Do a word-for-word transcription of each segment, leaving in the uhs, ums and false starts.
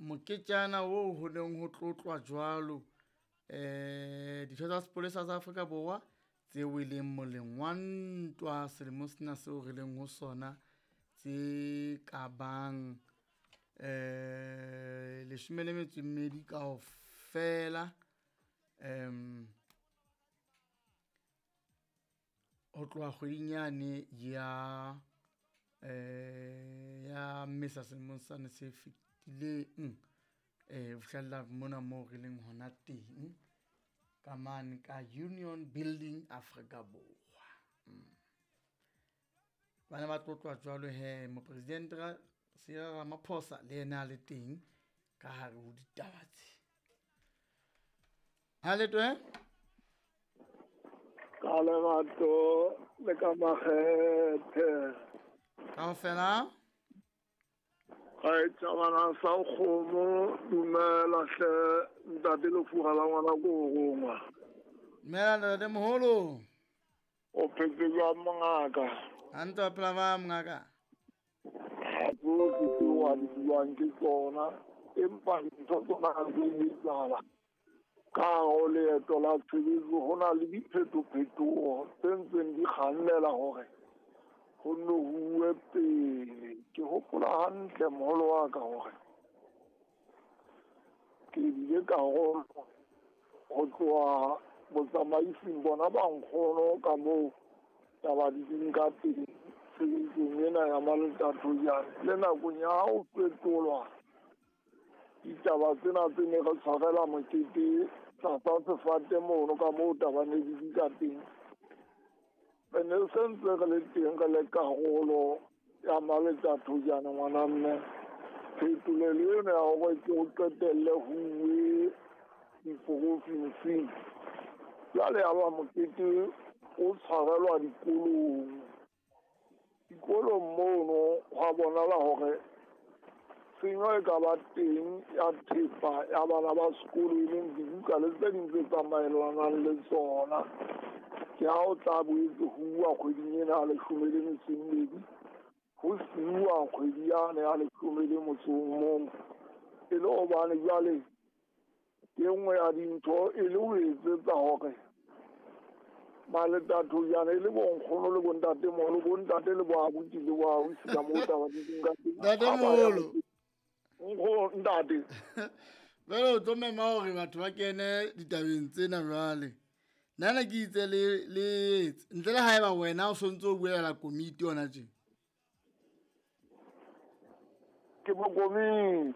Moketjana oo ho neng ho tlotlwa jwalo eh ditho tsa sepolesa sa Afrika Borwa tse weleng moleng wa ntwa selemong sena seo re leng ho sona tse ka bang eh leshome le metso e mmedi kaofela. Em ho tloha kgweding yane ya eh ya Mmesa selemong sane se fetileng, eh ho fihlella mona moo re leng hona teng ka mane ka Union Building Afrika Borwa. Mm. Bana ba tlotlwa jwalo he, Mopresidente Cyril Ramaphosa le yena a le teng ka hare ho ditaba tse. Ha le twe? Ka lerato le ka makgethe. Kaofela? Ga e tšabana sa kgomo, dumela hle ntate Lefuga la ngwana ko go rongwa. Dumela ntate moholo. O phetse jwang mongaka? Hantle wa phela ba mongaka? Ha tsohle tseo a di buang ke tsona, empa dintho tsona ha di etsahala. Ka hare ho leeto la tshebetso ho na le diphetophetoho tse ntseng di kgannela hore ho nno ho uwe pele. Ke hopola hantle moholo wa ka hore ke bile karolo ho tloha botsamaising bona ba nkgono ka moo taba di ding ka teng tshebetsong ena ya Maletatojane. Le nakong ya ha ho fetolwa ditaba tsena tse ne re tshwarela mokete tlasa sefate mono ka moo taba ne di di ka teng, re ne se ntse re le teng re le karolo ya Maletatojane ngwana mme. Phetolelo ena ya hore ke ho qetelle ho uwe diprofinsing, jwale ya ba mokete o tshwarelwa dikolong. Dikolong mono hwa bonahala hore tshenyo e ka ba teng ya thepa ya bana ba sekolo, e leng dibuka le tse ding tse tsamaelanang le tsona. Ke ha o tla boetse ho uwa kgweding ena ya leshome le metso e mmedi, ho siuwa kgwedi yane ya leshome le motso o mong, e le hobane jwale e nngwe ya dintho e le ho etsetsa hore Maletatojane e le bonkgono le bontatemoholo, bontate le boabuti le boausi ka moo taba di leng ka teng. Ntatemoholo. Nkgono, ntate. Jwale o tlo mema hore batho ba kene ditabeng tsena jwale. Nna ne ke itse le, le etse ntle le haeba wena o sontso o buela komiti hona tje. Ke mo komiti.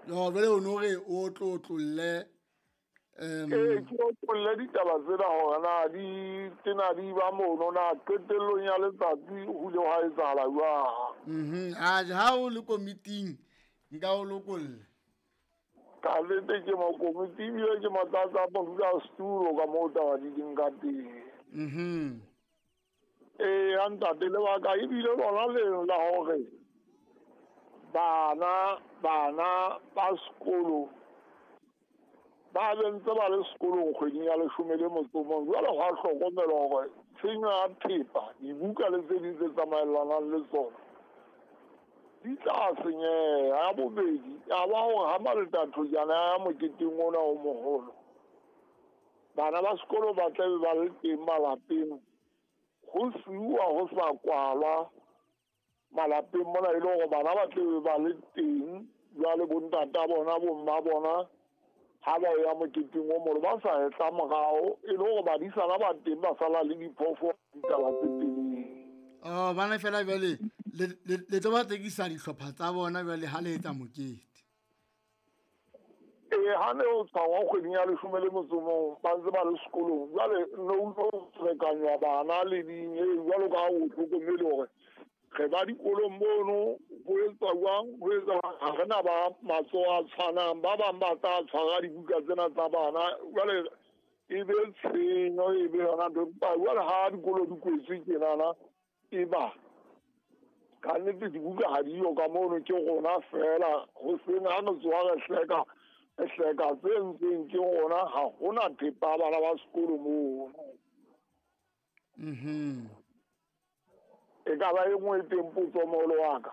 No, jwale o no re o tlo otlolle, em, Ee, ke otlolle ditaba tsena hore na di tena di ba mono na qetellong ya letsatsi ho ile hwa etsahala jwang. Mhm. A ha o le komiting nka o lokolla. Ka nnete ke mo komiti ebile ke motlatsa modulasetulo ka moo taba di leng ka teng. Mhm. Ee, ya ntate, lebaka ebile lona leno la hore bana, bana ba sekolo ba be ntse ba le sekolong kgweding ya leshome le motso o mong. Jwale hwa hlokomelwa hore tshenyo ya thepa, dibuka le tse ding tse tsamaelanang le tsona di tla senyeha. Ya bobedi ya ba hore ha Maletatojane a ya moketeng ona o moholo, bana ba sekolo ba tla be ba le teng malapeng, ho siuwa ho sa kwalwa malapeng mona, e le hore bana ba tla be ba le teng jwale bontata bona, bomma bona ha ba ya moketeng o moholo ba sa hetla morao, e le hore badisana ba teng ba sala le diphoofolo ditaba tse telele. Oh, bana fela jwale le, le, le tlo ba tsekisa dihlopha tsa bona jwale ha le etsa mokete. Ee, ha ne o tshwarwa kgweding ya leshome le motso o mong ba ntse ba le sekolong, jwale ne o tlo ferekanywa bana le ding, ee, jwalo ka ha o hlokomele hore re ba dikolong mono ho etswa jwang, ho etswa jwang, ha re na ba matsoho a tshwanang, ba bang ba tla tshwara dibuka tsena tsa bana, jwale e be tshenyo, e be yona ntho. Empa jwale ha dikolo di kwetswe tjenana, e ba ka nnete dibuka ha diyo ka mono, ke rona fela hoseng ha re tsoha re hleka, re hleka tse entsweng ke rona, ha hona thepa ya bana ba sekolo mono. Mhm. E ka ba e nngwe e teng potso moholo wa ka.